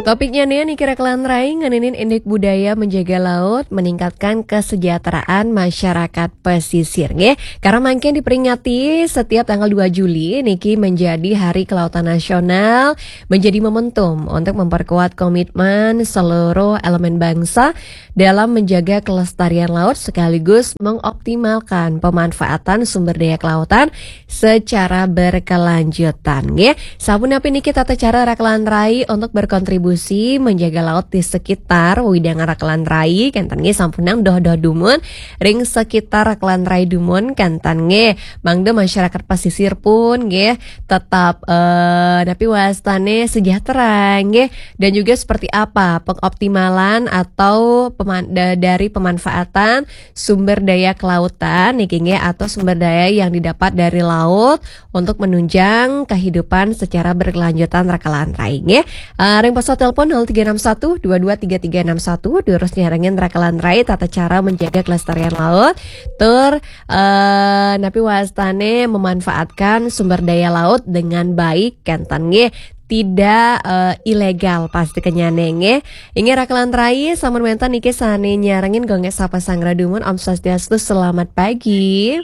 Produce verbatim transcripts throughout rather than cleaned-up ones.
Topiknya nih, niki Rakelan Rai ngeninin indik budaya menjaga laut, meningkatkan kesejahteraan masyarakat pesisir, nggih. Karena mangkin diperingati setiap tanggal dua Juli, niki menjadi Hari Kelautan Nasional, menjadi momentum untuk memperkuat komitmen seluruh elemen bangsa dalam menjaga kelestarian laut sekaligus mengoptimalkan pemanfaatan sumber daya kelautan secara berkelanjutan, nggih. Sampun napi niki tata cara Rakelan Rai untuk berkontribusi menjaga laut di sekitar wewidangan Rakelan Rai, kenten nggih, sampunang doh-doh dumun ring sekitar Rakelan Rai dumun, kenten nggih. Mangda masyarakat pesisir pun nggih tetap, eh, napi wastane sejahtera nggih, dan juga seperti apa pengoptimalan atau peman-, da-, dari pemanfaatan sumber daya kelautan niki nggih, atau sumber daya yang didapat dari laut untuk menunjang kehidupan secara berkelanjutan Rakelan Rai nggih. Eh, ring pos telepon nol tiga enam satu dua dua tiga tiga enam satu, durus nyarengin Rakelan Rai tata cara menjaga kelestarian laut, tur, eh, napi wastane memanfaatkan sumber daya laut dengan baik, kenten nggih. Tidak, eh, ilegal pasti kenyane nggih. Inggih Rakelan Rai, sampun wenten niki sane nyarengin, Gung Gek sapa sang radumun. Om Swastiastu, selamat pagi.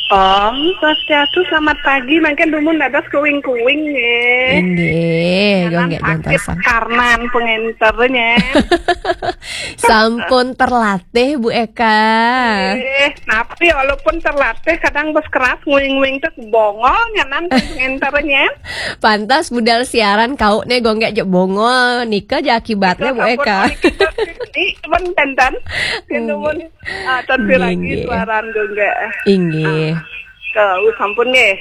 Om Swastiastu, selamat pagi. Mangkin dumun dados kuing-kuing nggih. Inggih, Gung Gek sakit jantosan. Karnan pengenternya. Sampun terlatih, Bu Eka. Eh, tapi walaupun terlatih, kadang bes keras nguing-nguing tuh bongol nyanan pengenternya. Pantas budal siaran kau ne, Gung Gek, jek bongol. Nika ja akibatnya, Bu Eka. Ini pun tenten. Ini pun, ah, tan lagi suaran Gung Gek. Inggih. Ah, ke, uh, sampun nggih.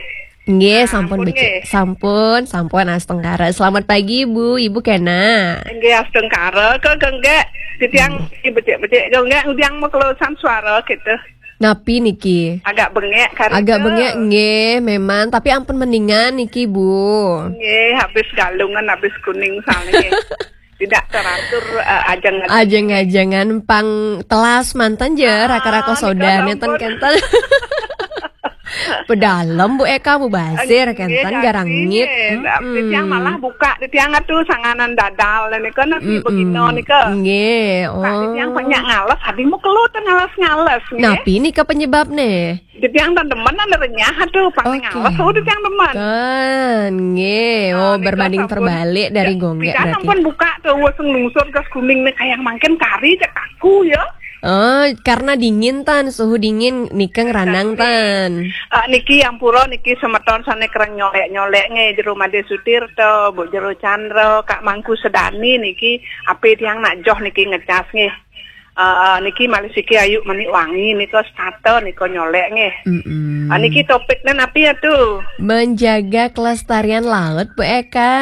Nggih, sampun, sampun becik. Nggih. Sampun, sampun astungkara. Selamat pagi, Bu. Ibu kena. Nggih, astungkara. Ke, Gung Gek. Titiang becik-becik, Gung Gek, ngudiang mau kelusan suara gitu. Napi niki? Agak bengek kari. Agak bengek nggih, memang, tapi ampun mendingan niki, Bu. Nggih, habis Galungan, habis Kuning soalnya. Tidak teratur, eh, ajeng-ajeng. Ajeng-ajengan pang telas manten je, ah, raka-raka soda neten kenten. Pedalem, Bu Eka, mubazir, nggih, kenten, garangit. Nggih. Tapi tiang malah buka, di tiang atuh sanganan dadal, nika, nasi begino, nika. Nggih, oh. Di tiang banyak ngales, adi mau keluh teh ngales-ngales, nggih. Napi nika penyebabne? Di tiang tan demen ada renyah, atuh, pang ngales, oh, di tiang demen. Kan, nggih. Oh, nika berbanding terbalik dari Gung Gek berarti. Sampun buka tuh, wes nglungsur ke Kuning nih, kayak mangkin kari cek aku, ya. Oh, karena dingin tan, suhu dingin nika ngranang tan. Eh, niki ampura niki semeton sane kereng nyolek-nyolek nggih, Jero Made Sutirta, Bu Jero Chandra, Kak Mangku Sedani niki, ape tiang nak joh niki ngecas nggih. Eh, niki malih siki Ayu Manik Wangi nika setata nika nyolek nggih. Mm-mm. Ah, niki topiknya napi ya tuh? Menjaga kelestarian laut, Bu Eka.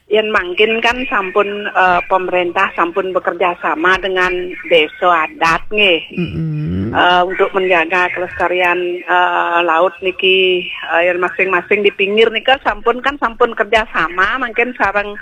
Yen mangkin kan sampun, eh, pemerintah sampun bekerja sama dengan desa adat nggih. Mm-mm. Eh, untuk menjaga kelestarian, eh, laut niki, eh, yen masing-masing di pinggir nika sampun kan sampun kerja sama mangkin sareng,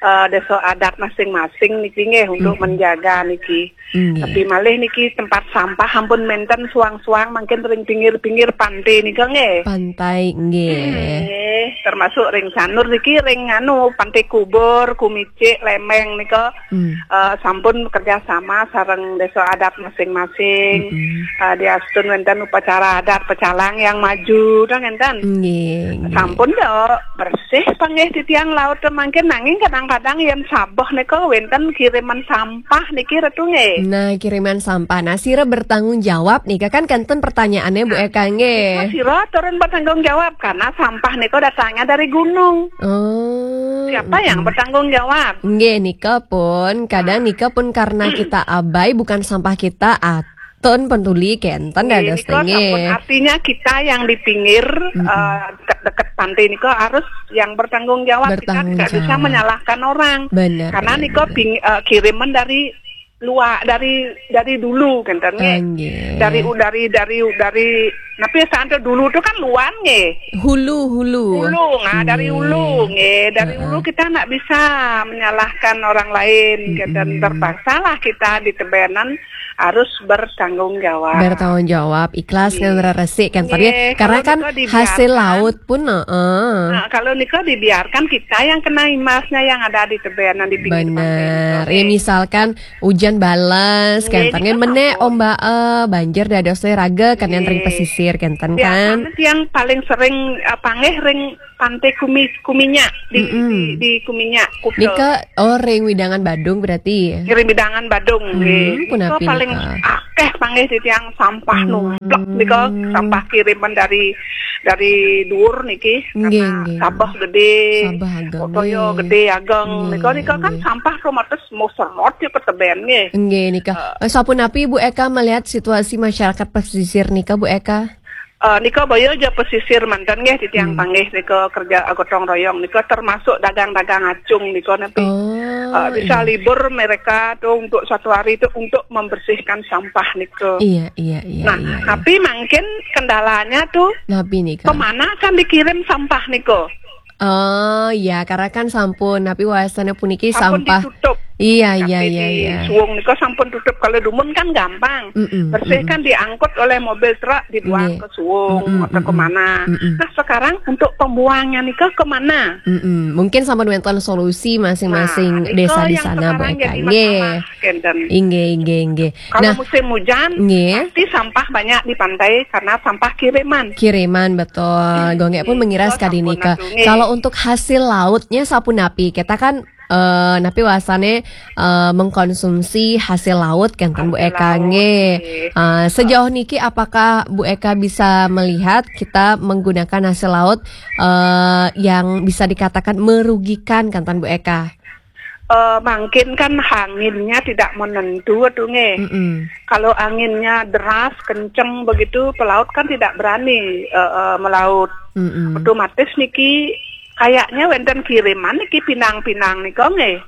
eh, desa adat masing-masing niki nggih untuk menjaga niki. Nggih. Tapi malih niki tempat sampah ampun menten suang-suang mangkin ring pinggir-pinggir pantai nika nggih. Pantai nggih. Nggih, termasuk ring Sanur niki ring anu Pantai Kubur, Kumicik, Lemeng nika, eh, sampun kerja sama sareng desa adat masing-masing. Mm-mm. Eh, diastun wenten upacara adat pecalang yang maju, dah ngenten. Nggih, nggih. Sampun dah bersih panggih titiang laut mangkin nanging kadang-kadang yen sabeh nika wenten kiriman sampah niki Ratu nggih. Nah, kiriman sampah. Nah, sira bertanggung jawab nika kan kenten pertanyaannya Bu Eka nggih. Nah, sira turun bertanggung jawab karena sampah nika datangnya dari gunung. Oh. Siapa yang bertanggung jawab? Nggih, nika pun kadang nika pun karena kita abai bukan sampah kita atun pentuli kenten dados nggih. Sampun artinya kita yang di pinggir, eh, dekat-dekat pantai nika harus yang bertanggung jawab. Kita tidak bisa menyalahkan orang. Bertanggung jawab. Benar, karena benar, nika benar. Ping-, eh, kiriman dari luar, dari, dari dulu, kenten nggih. Ah, nggih. Dari u-, dari, dari, dari, napi ya, santo dulu tuh kan luar nggih. Hulu, hulu. Hulu, nah, dari hulu nggih. Dari hulu kita ndak bisa menyalahkan orang lain, kenten. Mm-mm. Terpaksalah kita di tebenan harus bertanggung jawab. Bertanggung jawab, ikhlas Nggih. Ngan resik kan, Pak, ya? Nggih, Karena kalau kan nika hasil dibiarkan, laut pun, heeh. Nah, kalau nika dibiarkan, kita yang kena imbasnya yang ada di teben, yang di pinggir pantai Bener. nika. Ya, misalkan hujan bales, Nggih, kenten kan, nika menek sampun. Ombak, eh, banjir dados raga kan, yang ring Nggih. pesisir kenten kan. Biasanya yang paling sering, eh, panggih ring Pantai Kumi, Kuminyak di, Mm-mm. di, di Kuminyak, Kuta. Nika, oh, ring widangan Badung berarti. Ngirim bidangan Badung, Hmm, nggih. Nika punapi paling nika? Akeh panggih titiang sampah Hmm. Numplek nika, sampah kiriman dari, dari dhuwur niki. Nggih, Karena nggih. Sabah gede, Sabah ageng, Kotoyo nggih. Gede ageng. Nggih, Nika, nika kan nggih. Sampah romates mau serot ya ke teben, nggih. Nggih, nika. Eh, sapunapi Bu Eka melihat situasi masyarakat pesisir nika, Bu Eka? Eh, nika baya aja pesisir manten, nggih, titiang Hmm. panggih nika kerja gotong royong nika, termasuk dagang-dagang acung nika, napi. Oh, Eh, bisa iya. libur mereka tuh untuk satu hari itu untuk membersihkan sampah nika. Iya, iya, iya, Nah, iya, iya. Tapi mungkin kendalanya tuh Napi nika? Kemana kan dikirim sampah nika? Oh, ya, karena kan sampun, tapi wasana puniki Sampun sampah. Ditutup. Iya, iya, Tapi iya, di iya. Suwung nika sampun tutup. Kalau dumun kan gampang. Mm-mm, Bersih mm-mm. Kan diangkut oleh mobil truk, dibuang Nggih. ke Suwung Mm-mm, atau mm-mm. Kemana? Mm-mm. Nah, sekarang untuk pembuangnya nika kemana? Mm-mm. Mungkin sampun wonten solusi masing-masing Nah, desa nika di yang sana, Bu sekarang Eka. Jadi Nggih. Masalah, kenten. Inggih, inggih, inggih. Kalau Nah, musim hujan, nggih. Pasti sampah banyak di pantai karena sampah kiriman. Kiriman, betul. Gonggek pun Nggih, mengiras nika kadi sampun nika. Atu, nggih. Kalau untuk hasil lautnya sapunapi? Kita kan, eh, napi wasane, eh, mengkonsumsi hasil laut kan, kan, Bu Hasil Eka, laut, nggih. nggih. Eh, sejauh niki apakah Bu Eka bisa melihat kita menggunakan hasil laut, eh, yang bisa dikatakan merugikan kan, kan, Bu Eka? Eh, mungkin kan anginnya tidak menentu tuh, nggih. Mm-mm. Kalau anginnya deras, kenceng begitu, pelaut kan tidak berani, eh, eh, melaut. Mm-mm. Otomatis niki kayaknya wonten kiriman niki pinang-pinang nika, nggih.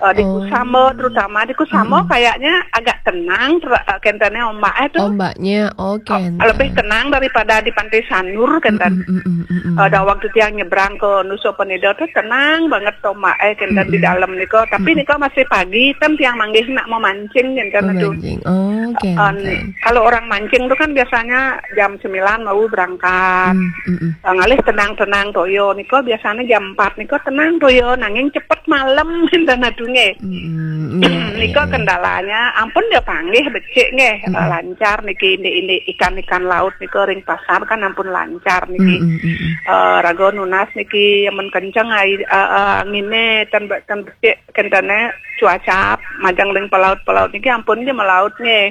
Eh, di Oh. Kusama, terutama di Kusama Mm-mm. kayaknya agak tenang, ter-, eh, kentene ombak itu. Ombaknya, oh, kenten. Lebih tenang daripada di Pantai Sanur, kenten. Mm-mm, mm-mm, mm-mm. Eh, dan waktu tiang nyebrang ke Nusa Penida tuh tenang banget ombak, eh, kenten di Mm-mm. dalam nika. Tapi Mm-mm. nika masih pagi, kan tiang manggih nak mau mancing, kenten tuh. Mancing. Oh, Eh, kenten. Kalau orang mancing tuh kan biasanya jam sembilan mau berangkat. Mm, mm-mm. Eh, ngalih tenang-tenang toyo nika biasanya jam empat nika tenang toyo, nanging cepet malam, kenten aduh, nggih. Mm, iya, Nika iya, iya. Kendalanya, ampun ya panggih becik, nggih. Mm-mm. Eh, lancar niki, indik-indik ikan-ikan laut nika ring pasar kan ampun lancar niki. Mm-mm, mm-mm. Eh, raga nunas niki, amun kenceng ai-, eh, eh, angine, ten be-, ten becik kentene cuaca majeng ring pelaut-pelaut niki ampun nggih melaut nggih.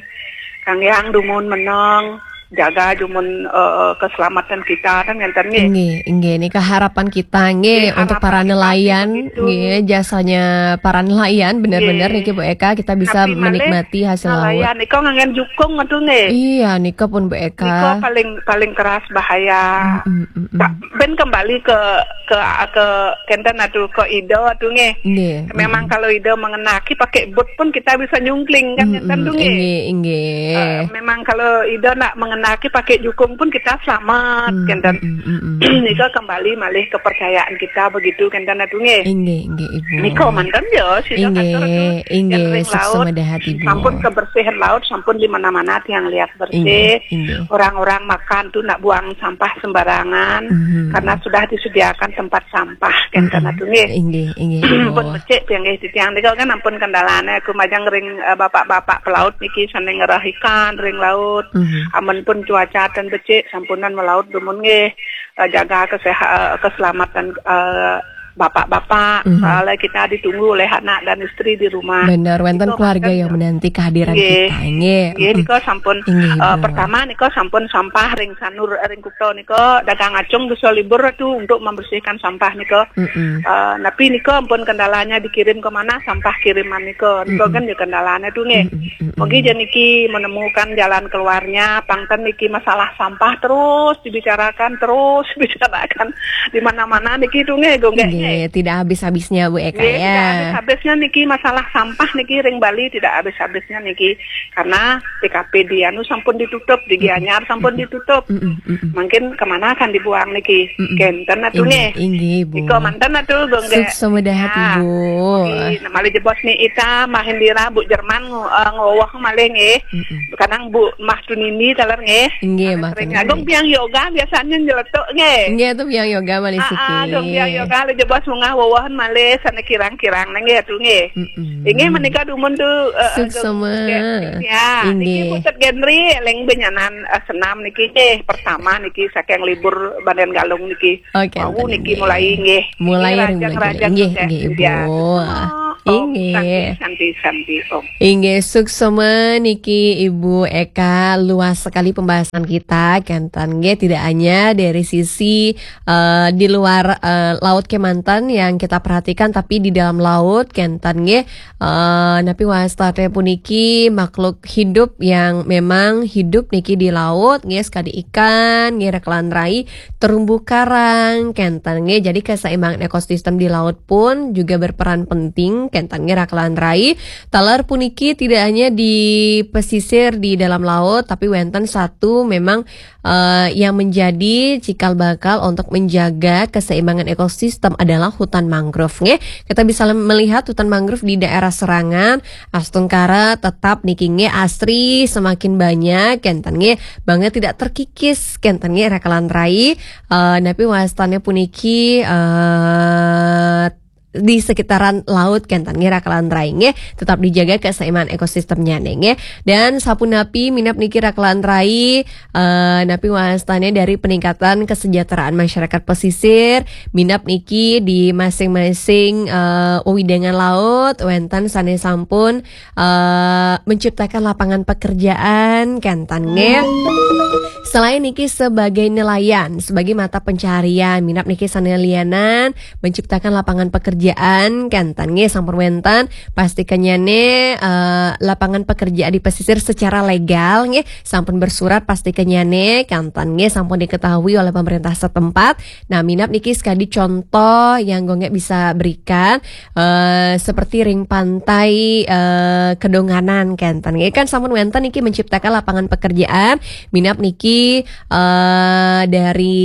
Kang Yang dumun meneng, jaga dumun, eh, keselamatan kita kan ngenten nggih. Nggih, nggih. Niki harapan kita nggih, nggih, untuk para nelayan, nggih, jasanya para nelayan benar-benar nggih. Niki Bu Eka kita bisa menikmati hasil laut. Nelayan nika nganggen jukung aduh nggih. Iya, nika pun Bu Eka. Nika paling, paling keras bahaya. Mm, mm, mm, mm. Ben kembali ke, ke, ke kenten aduh, ke ide aduh nggih. Nggih. Memang kalau ide mengenaki pakai boot pun kita bisa nyungkling kan, mm-mm, ngenten tuh nggih. Inggih, inggih. Eh, memang kalau ide nak mengenaki pakai jukung pun kita selamat, mm, kenten. Mm, mm, mm, mm. Nika kembali malih kepercayaan kita begitu, kenten aduh nggih. Inggih, inggih, Ibu. Nika manten ya, sida inggih, katur aduh, inggih, yen ring laut, sukses Ibu. Sampun kebersihan laut, sampun di mana-mana tiang lihat bersih. Inggih, inggih. Orang-orang makan tuh nak buang sampah sembarangan, mhm, karena sudah disediakan tempat sampah, kan, mhm, kenten aduh nggih. Inggih, inggih, Ibu. Pun becik piye nggih titiang nika kan ampun kendalane aku majeng ring, eh, bapak-bapak pelaut niki sane ngerah ikan ring laut. Mhm. Amun pun cuaca ten becik sampunan melaut dumun nggih. Eh, jaga keseha-, eh, keselamatan, eh, bapak-bapak, mhm, soalnya kita ditunggu oleh anak dan istri di rumah. Bener, wenten keluarga yang menanti kehadiran kita, nggih. Nggih, mm-mm, nika sampun, inggih, eh, Ibu. Pertama nika sampun sampah ring sanur, ring kuta nika, dagang acung bisa libur tuh untuk membersihkan sampah nika. Mm-mm. Eh, tapi nika ampun kendalanya dikirim ke mana, sampah kiriman nika. Nika, mm-mm, kan ya kendalanya tuh, nggih. Mm-mm, mm-mm. Mungkin jan niki menemukan jalan keluarnya, pangten niki masalah sampah terus dibicarakan, terus dibicarakan. Di mana-mana niki tuh nggih, gonggek nggih, Eh, tidak habis-habisnya, Bu Eka, Nggih, ya. Tidak habis-habisnya niki masalah sampah niki ring Bali, tidak habis-habisnya niki karena T K P di anu sampun ditutup, di Gianyar sampun ditutup. Mm-mm, mm-mm. Mungkin kemana kan dibuang niki? Mm-mm. Kenten atuh Inggih, nggih. inggih, Bu. Iko manten atuh, Gung, nggih. Suksma dahat, Ya. Ibu. Di, malih jebos ni Ita, Mahendira, Bu Jerman, eh, ngowah malih nggih. Mm-mm. Kadang Bu Mah Tunini taler nggih. Inggih, Mah Sering Tunini. Agung Biang Yoga biasanya nyeletuk nggih. Inggih, itu Biang Yoga malih Ah, siki. ah, Dong Biang Yoga, malih jebos munggah wowohan malih sana kirang-kirang nggih atuh nggih. Mm-mm. Inggih menika dumun tuh eh, Suksma. Agung, ya, niki Inggih. Putet Genri eling benyanan eh, senam niki nggih pertama niki saking libur Bandan Galung niki. Oke, Wau enten niki nggih. Mulai nggih. Mulai Nggih, ring rajang, mulai. Rajang Nggih, nggih. nggih, Ibu. Ya. Suksma, Om. Inggih. Santi, santi, santi, Om. Inggih, suksma niki Ibu Eka, luas sekali pembahasan kita, kenten nggih, tidak hanya dari sisi eh, di luar eh, laut kemanten yang kita perhatikan, tapi di dalam laut kenten nggih. Eh, napi wastane puniki makhluk hidup yang memang hidup niki di laut nggih, sekadi ikan nggih, rakelan rai, terumbu karang kenten nggih. Jadi keseimbangan ekosistem di laut pun juga berperan penting kenten nggih, rakelan rai. Taler puniki tidak hanya di pesisir di dalam laut, tapi wenten satu memang eh, yang menjadi cikal bakal untuk menjaga keseimbangan ekosistem adalah hutan mangrove nggih. Kita bisa lem- melihat hutan mangrove di daerah Serangan, astungkara tetap niki nggih asri semakin banyak kenten nggih, banget tidak terkikis kenten nggih, rakelan rai. Eh, napi wastane puniki eh, di sekitaran laut kenten nggih, rakelan rai nggih, tetap dijaga keseimbangan ekosistemnya nggih. Dan sapunapi minab niki, rakelan rai, eh, napi wastane dari peningkatan kesejahteraan masyarakat pesisir, minab niki di masing-masing eh, wewidangan laut wenten sane sampun eh, menciptakan lapangan pekerjaan kenten nggih. Selain niki sebagai nelayan, sebagai mata pencarian, minab niki sane lianan menciptakan lapangan pekerjaan kenten nggih, sampun wenten pastikannyane eh, lapangan pekerjaan di pesisir secara legal nggih, sampun bersurat pastikannyane kenten nggih, sampun diketahui oleh pemerintah setempat. Nah, minab niki sekadi contoh yang Gung Gek bisa berikan eh, seperti ring pantai eh, Kedonganan kenten nggih, kan sampun wenten niki menciptakan lapangan pekerjaan, minab niki eh, dari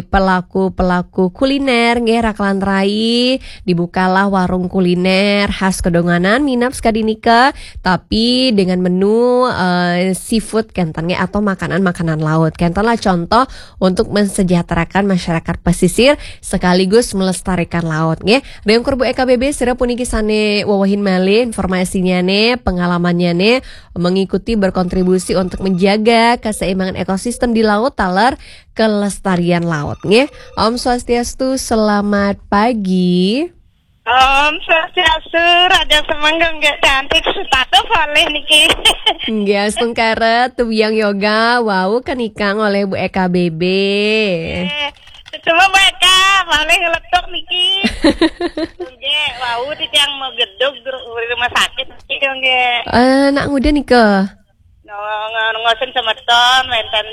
pelaku-pelaku kuliner nggih, rakelan rai, dibukalah warung kuliner khas Kedonganan minab sekadi nika, tapi dengan menu eh, seafood kenten nggih, atau makanan-makanan laut. Kenten lah contoh untuk mensejahterakan masyarakat pesisir sekaligus melestarikan laut nggih. Ring ungkur Bu Eka B B, sira puniki sane wewehin malih informasinyane, pengalamannyane mengikuti berkontribusi untuk menjaga keseimbangan ekosistem di laut taler kelestarian laut nggih. Om Swastiastu, selamat pagi. Om Swastiastu, Raja Semenggung nggih, cantik, sepatu boleh niki. Nggih, astungkara, Tubiang Yoga wau kenikang oleh Bu Eka B B. Eh, Cuma Bu Eka, boleh ngeletuk niki. Nggih, wau titiang mau gedug di rumah sakit niki nggih. Eh, nak nguda nika. No, ng- ngosen semeton wenten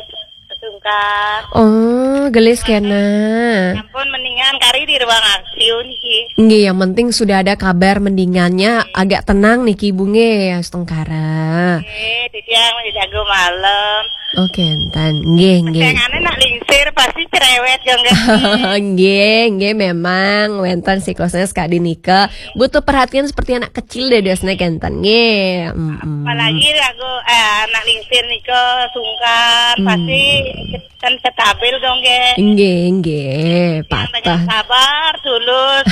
sungkan. Oh, gelis kena. Ampun, mendingan kari di ruang I C U niki. Nggih, yang penting sudah ada kabar mendingannya, agak tenang niki, Bu nggih, astungkara. Eh, titiang mau jago malam. Oke, enten. Nggih, nggih. Tengane nak lingsir pasti cerewet ya nggih. Nggih, nggih, memang wenten siklusnya sekadi nika. Butuh perhatian seperti anak kecil deh, dasnya kenten. Nggih. Mm-mm. Apalagi aku eh, anak lingsir nika sungkan, Hmm. Pasti kan stabil dong nggih. Nggih, nggih, Yang dengan patah. Sabar, tulus,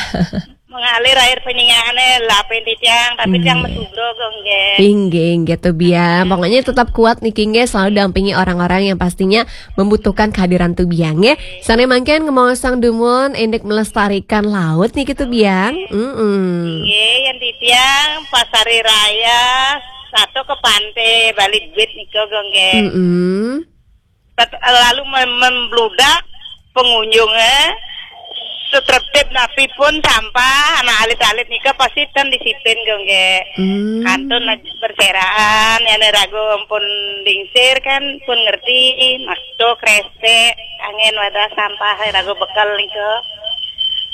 mengalir air penyingaane lapen titiang, tapi Hmm. yang mesubro dong nggih. Inggih, inggih, Tubiang. Pokoknya tetap kuat niki, nggih, selalu dampingi orang-orang yang pastinya membutuhkan kehadiran Tubiang, nggih. Sane mangkin ngemaosang dumun indik melestarikan laut niki, Tubiang. Mm-mm. Nggih, yang titiang Pasari Raya satu ke pantai Bali Beach nika nggih. Mm-mm. Tet- lalu mem- membludak pengunjungnya setertib napi pun sampah anak alit-alit nika pasti ten disiplin nggih. Hmm. Kantun lagi berseraan ya, ragu pun lingsir kan pun ngerti, masuk rese angin wadah sampah ragu bekal nika.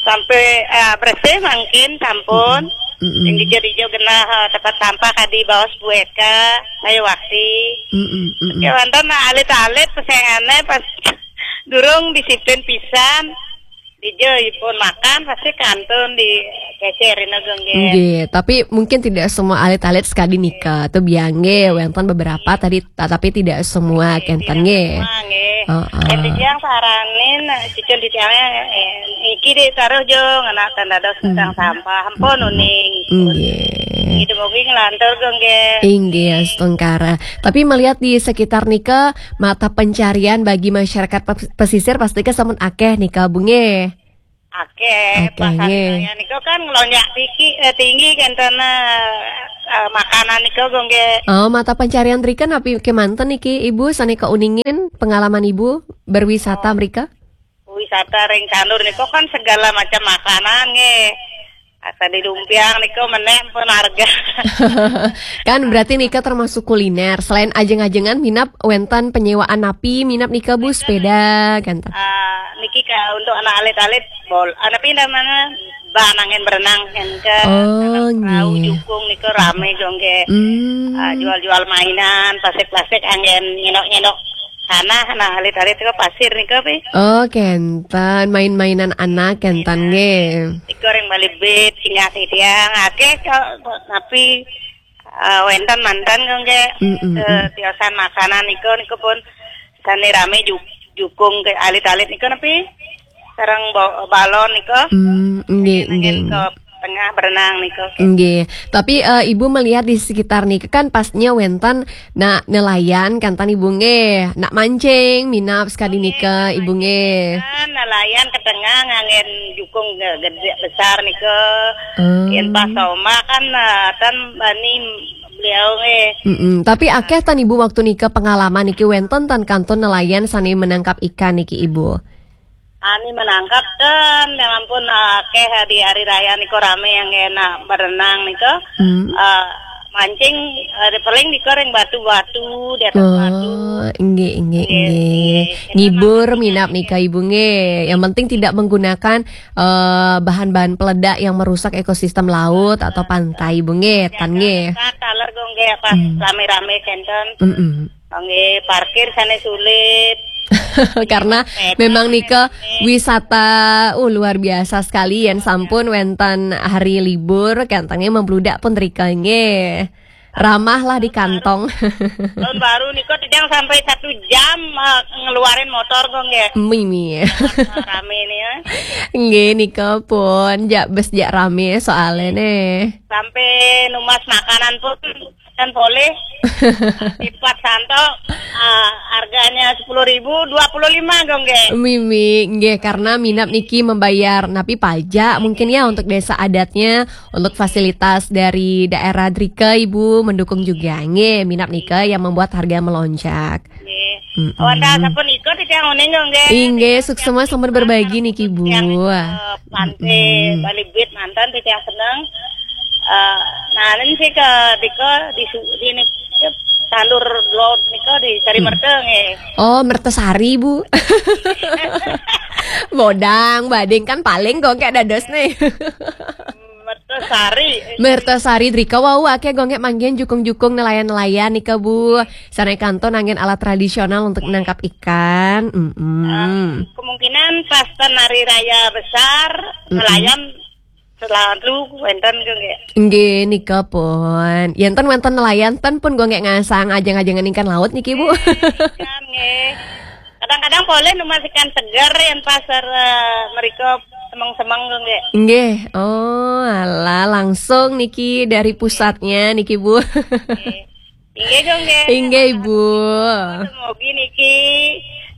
sampai, eh, bersih mangkin sampun. Mm-mm. Yang hijau-hijau genah, eh, tempat sampah tadi bawa sebuah eka, ayo wakti. Mm-mm, mm-mm. Ya, wonten alit-alit pesengane pas durung disiplin pisan. Dijo ipun makan pasti kantun di kecer ini gong, nggih. Nggih, tapi mungkin tidak semua alit-alit sekali nika. Tuh biang nggih, wonten beberapa tadi, ta-, tapi tidak semua kenten nggih. Semua nggih. Heeh. Yang saranin, cucun di tiangnya, eh, iki ditaruh jong, anak tanda dos tentang sampah, ampun uning. Nggih. Itu mungkin ngelantur gong, nggih. Inggih, astungkara. Tapi melihat di sekitar nika, mata pencarian bagi masyarakat pes-, pesisir pasti ke sampun akeh nika, Bu, nggih. Akeh, akeh, pas hari raya nika kan ngelonjak tinggi, eh, tinggi kan tanah, eh, makanan nika gong, nggih. Oh, mata pencarian drika napi kemanten niki, Ibu, sane keuningin pengalaman Ibu berwisata mrika? Wisata ring Candur nika kan segala macam makanan nggih. Asa di Dumpiang nika menek pun harga. Kan berarti nika termasuk kuliner. Selain ajeng-ajengan minap wonten penyewaan napi minap nika, Bu, sepeda kan ta? Ah, niki ka untuk anak alit-alit bol. Anak pindah mana? Banangen berenang kan ke. Oh, perahu nggih. Jukung nika rame gong, nggih. Hmm. Ah, jual-jual mainan, plastik-plastik anggen nyenok-nyenok tanah, nah, alit-alit ke pasir nika, pi. Oh, kenten, main-mainan anak kenten nggih. Iko ring Bali Beach, singgah titiang, akeh kok, napi, eh, wonten manten kok nggih. Mm, mm, mm. Tiosan makanan iko, niku pun sane rame ju-, jukung ke alit-alit niku napi? Sareng ba-, balon nika. Hmm, nggih, nggih. Ke tengah berenang nika. Nggih. Tapi, eh, Ibu melihat di sekitar nika kan pastinya wonten nak nelayan kan tan Ibu nggih. Nak mancing, minap sekali nika Ibu nggih. Nah, nelayan ke tengah nganggen jukung ge-, gede besar nika. Hmm. Yen pas ombak kan, eh, tan bani beliau nggih. Mm-mm. Tapi akeh tan Ibu waktu nika pengalaman niki wonten tan kantun nelayan sane menangkap ikan niki Ibu. Ani menangkap ten, ya ampun, akeh di hari raya niku rame yang enak berenang niku. Hmm. Eh, mancing, eh, paling niku ring batu-batu, di atas batu. Oh, nggih, nggih, nggih, nggih. Ngibur minap nika Ibu nggih. Yang penting tidak menggunakan, eh, bahan-bahan peledak yang merusak ekosistem laut atau pantai Ibu nggih, tan nggih. Taler gong nggih pas rame-rame kenten. Mm-mm. Nggih, parkir sane sulit. Karena memang nika wisata, uh, luar biasa sekali yen sampun wonten hari libur, kantenge membludak pun rika nggih. Ramah lah di kantong. Tahun baru nika tijang sampai satu jam, eh, ngeluarin motor kok nggih. Mimi. Rame nih ya. Nggih nika pun jak bes jak rame soalnya nih. Sampai numas makanan pun dan boleh. Lipat santo, ah, harganya sepuluh ribu, dua puluh lima gong nggih. Mimi, nggih, karena minap niki membayar napi pajak mungkin ya untuk desa adatnya, untuk fasilitas dari daerah Drika Ibu mendukung juga nggih, minap nika yang membuat harga melonjak. Nggih. Mm-mm. Wanda sampun ikut titiang uning gong nggih. Inggih, suksema sampun berbagi niki Bu. Yang, eh, Pante Bali Beach mantan titiang seneng. Eh, nah, ini sih ke Dika di su-, di ni-, ke Tandur Laut nika di Sari Merta nggih. Oh, Mertasari, Bu. Bodang, bading kan paling kok kayak dados nih. Mertasari. Mertasari Drika wau akeh gongek manggen jukung-jukung nelayan-nelayan nika Bu. Sane kantun anggen alat tradisional untuk nangkap ikan. Mm-mm. Eh, kemungkinan pas ten hari raya besar nelayan selalu wonten ke nggih. Nggih, nika pun. Yen ten wonten nelayan, ten pun gongek ngasang ajeng-ajengan ikan laut niki, Bu. Ikan, nggih. Kadang-kadang boleh numas ikan segar yen pas, eh, mereka semeng-semeng ke nggih. Nggih. Oh, alah, langsung niki dari pusatnya niki, Bu. Nggih. Inggih, gong nggih. Inggih, Ibu. Semogi niki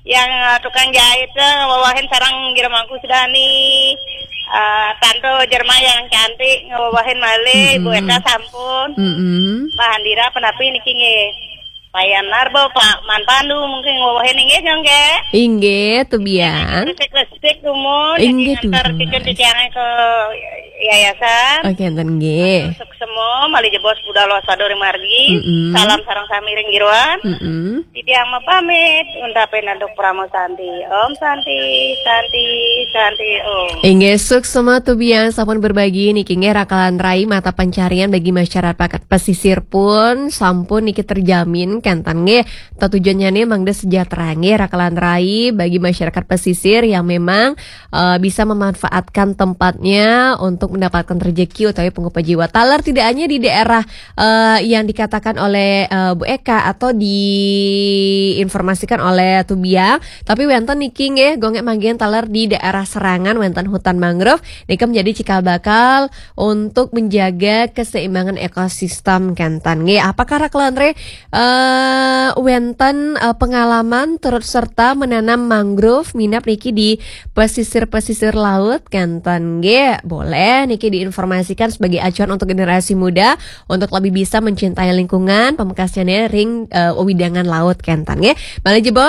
yang, eh, tukang jahit, eh, ngewawahin sareng Gira Mangku Sudani, eh, Tanto Jerma yang cantik ngewawahin malih, Ibu Eta sampun. Mm-mm. Pak Handira penapi niki nggih. Pak Yanar, Pak Man Pandu mungkin ngewawahin nggih, gong nggih. Inggih, tuh biang. Resik-resik dumun, inggih, ngantar dumun. Cucun titiange ke yayasan. Oke, enten nggih. Suksema. Om, malih jebos budal wasta Dori Margi. Mm-mm. Salam sareng sami ring jeroan. Mm-mm. Titiang mapamit, untapi antuk Parama Santi. Om Santi, Santi, Santi, Om. Inggih, suksma Tubiang sampun berbagi niki nggih, rakalan rai, mata pencarian bagi masyarakat pesisir pun sampun niki terjamin, kenten nggih. Tetujuannya nih mangda sejahtera nggih, rakalan rai, bagi masyarakat pesisir yang memang eh, bisa memanfaatkan tempatnya untuk mendapatkan rezeki utawi pangupa jiwa. Taler tidak hanya di daerah eh, yang dikatakan oleh eh, Bu Eka atau diinformasikan oleh Tubiang, tapi wenten niki nggih, Gung Ek manggihin taler di daerah Serangan wenten hutan mangrove, nika menjadi cikal bakal untuk menjaga keseimbangan ekosistem, kenten nggih. Apakah rakalan rai eh, wenten eh, pengalaman turut serta menanam mangrove minab niki di pesisir-pesisir laut, kenten nggih? Boleh niki diinformasikan sebagai acuan untuk generasi muda untuk lebih bisa mencintai lingkungan, pamekasnyané ring eh, wewidangan laut, kenten nggih? Malih jebos